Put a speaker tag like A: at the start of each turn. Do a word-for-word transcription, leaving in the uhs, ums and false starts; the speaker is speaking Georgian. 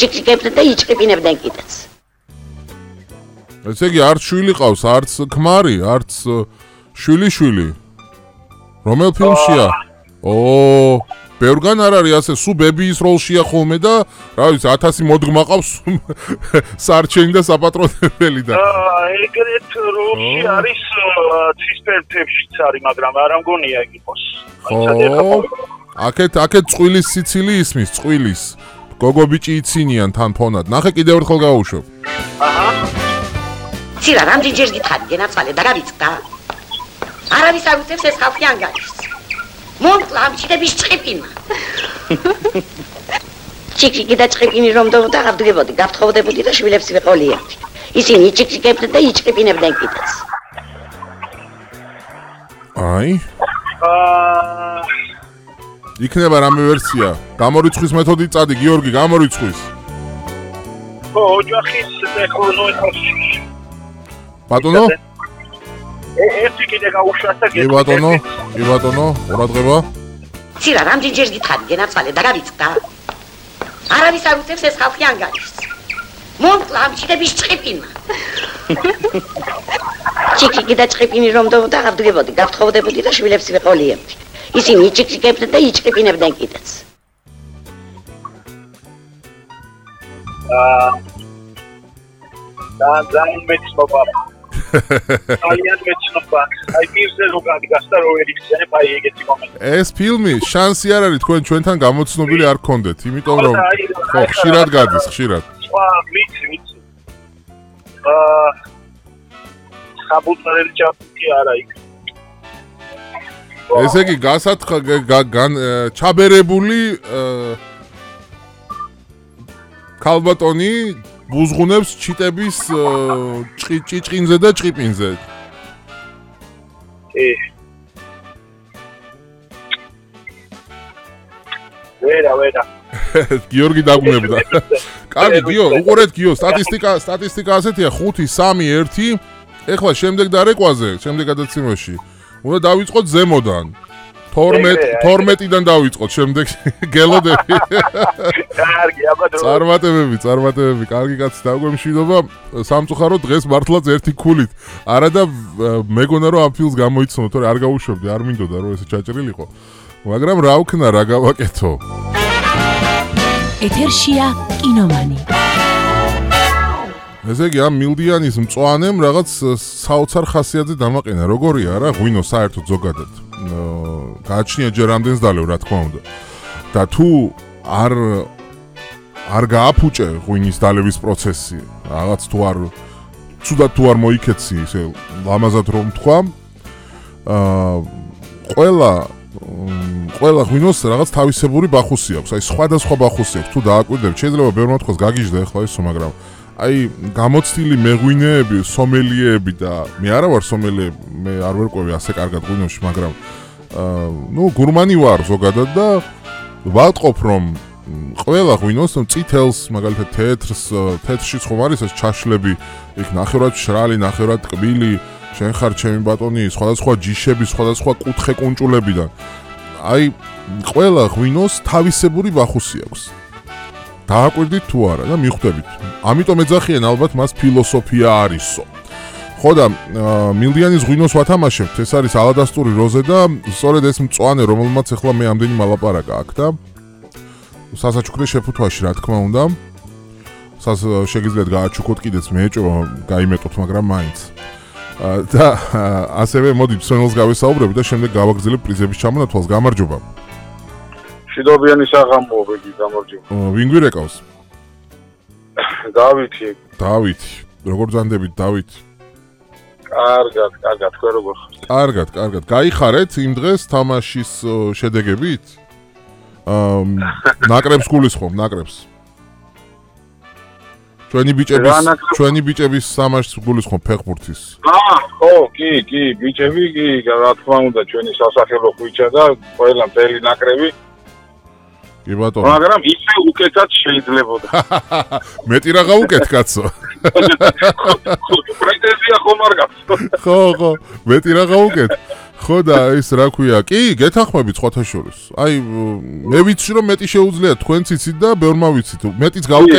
A: იჭიკებდნენ და იჭკიპინებდნენ კიდეც.
B: ესე იგი არც შვილი ყავს, არც ქმარი, არც შვილი შვილი. რომელ ფილმშია? ო, ბევრგან არ არის ასე, სულ ბებიის როლშია ხოლმე და, რა ვიცი, ათასი მოდგმა ყავს სარჩენი და საპატრონებელი და.
C: ეგრეთ როლში არის ცისფერთებშიც არის, მაგრამ არ ამგონია ეგ იყოს.
B: ხო. აქეთ აქეთ წვილის სიცილი ისმის, წვილის. გოგო ბიჭი იცინიან თან ფონად. ნახე კიდევ ერთხელ გავუშვებ.
C: აჰა.
A: ცირა რამდენჯერ გითხარი გენაცვალე და გავიწყდა. არავის არ უწევს ეს ხალხი ანგარიშს. მომკლა ამ ჩიტების ჭყიპინა. ჩიკჩიკი და ჭყიპინი რომ დავდა გავდგებოდი, გავთხოვდებოდი და შვილებს ვიყოლიებდი. ისინი იჭიკებდნენ და იჭკიპინებდნენ კიდეც.
B: აი.
C: აა
B: იქნება რამე ვერსია. გამორიცხვის მეთოდით წადი, გიორგი, გამორიცხვის.
C: ხო, ოჯახის ტექნოლოგიაში.
B: ბატონო?
C: ერთი კიდე გაუშვათ და
B: კი ბატონო, კი ბატონო, ყურადღება.
A: ცირა რამდენჯერ გითხარი გენაცვალე და გავიწყდა. არავის არ უწევს ეს ხალხი ანგარიშს. მომკლა ამ ჩიტების ჭყიპინა. ჩიკჩიკი და ჭყიპინი რომ დავდა გავდგებოდი, გავთხოვდებოდი და შვილებს ვიყოლიებდი. ისინი იჭიკებდნენ და იჭკიპინებდნენ კიდეც.
C: აა და ძალიან მეცნობა. ძალიან მეცნობა. აი პირზე რო გადგას და რო ერიხსენებ აი ეგეთი მომენტი.
B: ეს ფილმი შანსი არ არის თქვენ ჩვენთან გამოცნობილი არ გქონდეთ, იმიტომ რომ ხო, ხშირად გადის, ხშირად.
C: სხვა ვიცი, ვიცი. აა საბუთარელი ჩაფიქი არა იქ.
B: ესე იგი გასათხა გან ჩაბერებული ქალბატონი ბუზღუნებს ჩიტების ჭჭინზე და ჭყიპინზე.
C: კი. ვერა, ვერა.
B: გიორგი დაგუნებდა. კარგი, გიო, უყურეთ გიო, სტატისტიკა, სტატისტიკა ასეთია ხუთი, სამი, ერთი. ეხლა შემდეგ დარეკვაზე, შემდეგ გადაცემაში. უნდა დავიწყოთ ზემოდან. თორმეტიდან დავიწყოთ, შემდეგ გელოდები.
C: კარგი, აბა დრო.
B: წარმატებები, წარმატებები, კარგი კაცი, დაგვემშვიდობა. სამწუხაროდ დღეს მართლაც ერთი ქულით. არა და მეგონა რომ ამ ფილმს გამოიცნო, თორე არ გავუშვებდი, არ მინდოდა რომ ესე ჩაჭრილიყო. მაგრამ რა ვქნა, რა გავაკეთო.
D: ეთერშია კინომანი.
B: ესე იგი ამ მილდიანის მწვანემ რაღაც საოცარ ხასიათზე დამაყენა. როგორია რა, ღვინო საერთოდ ზოგადად. გააჩნია ჯერ რამდენს დალევ, რა თქმა უნდა. და თუ არ არ გააფუჭე ღვინის დალევის პროცესი, რაღაც თუ არ ცუდად თუ არ მოიქეცი, ესე ლამაზად რომ თქვა, აა ყველა ყველა ღვინოს რაღაც თავისებური ბახუსი აქვს. აი სხვადასხვა ბახუსი აქვს. თუ დააკვირდებ, შეიძლება ბევრმა თქვას გაგიჟდა ახლა ისო, მაგრამ აი გამოცდილი მეღვინეები, სომელიეები და მე არა ვარ სომელიე, მე არ ვერკვევი ასე კარგად ღვინოში, მაგრამ აა ნუ გურმანი ვარ ზოგადად და ვატყობ რომ ყველა ღვინოს წითელს, მაგალითად თეთრს, თეთრშიც ხომ არის ეს ჩაშლები, იქ ნახევრად შრალი, ნახევრად ტკბილი, შენ ხარ ჩემი ბატონი, სხვადასხვა ჯიშები, სხვადასხვა კუთხე კუნჭულებიდან. აი ყველა ღვინოს თავისებური ბახუსი აქვს. დააკვირდით თუ არა და მიხვდებით. ამიტომ ეძახიან ალბათ მას ფილოსოფია არისო. ხო და მილდიანის ღვინოს ვათამაშებთ, ეს არის ალადასტური როზე და სწორედ ეს მწვანე, რომელმაც ახლა მე ამდენი მალაპარაკა აქ და სასაჩუქრე შეფუთვაში, რა თქმა უნდა. სას შეგიძლიათ გააჩუქოთ კიდეც, მე ეჭვება გაიმეტოთ, მაგრამ მაინც. და ასევე მოდი მსმენელს გავესაუბრებ და შემდეგ გავაგრძელებ პრიზების ჩამონათვალს. გამარჯობა.
E: მშვიდობიანი საღამოა, ბეგი, გამარჯობა.
B: ვინ გვირეკავს?
E: დავითი.
B: დავითი. როგორ ძანდებით, დავითი?
E: კარგად, კარგად, თქვენ როგორ ხართ?
B: კარგად, კარგად. გაიხარეთ იმ დღეს თამაშის შედეგებით? აა ნაკრებს გულისხმობ, ნაკრებს. ჩვენი ბიჭების ჩვენი ბიჭების სამაშს გულისხმობ ფეხბურთის.
E: აა, ხო, კი, კი, ბიჭები, კი, რა თქმა უნდა, ჩვენი სასახელო ხვიჩა და ყველა მთელი ნაკრები.
B: კი ბატონო.
E: მაგრამ ისე უკეთად შეიძლებოდა.
B: მეტი რაღა უკეთ კაცო.
E: პრეტენზია ხომ არ გაქვს.
B: ხო, ხო, მეტი რაღა უკეთ. ხო და ის რა ქვია, კი, გეთანხმებით სხვათა შორის. აი, მე ვიცი რომ მეტი შეუძლია თქვენც იცით და ბევრმა ვიცით. მეტიც გაუკეთეთ